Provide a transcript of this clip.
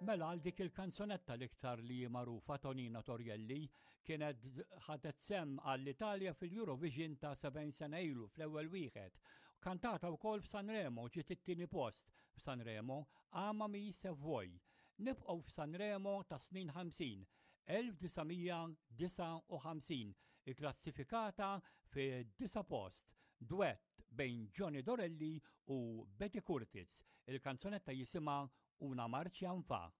Mela għal dik il-kanzunetta l-iktar li hi magħrufa Tonina Torrielli kienet ħadet sehem għall-Italja fil-Eurovision ta' 70 sena ilu fl-ewwel wieħed. Kantata wkoll f'Sanremo ġiet it-tieni post f'Sanremo, Amami se vuoi. Nibqgħu f'Sanremo ta' snin 50, 1959, ikklassifikata fid-disa' post, dwett bejn Johnny Dorelli u Betty Curtis. Il-kanzunetta jisimha Una marcia 'n fa.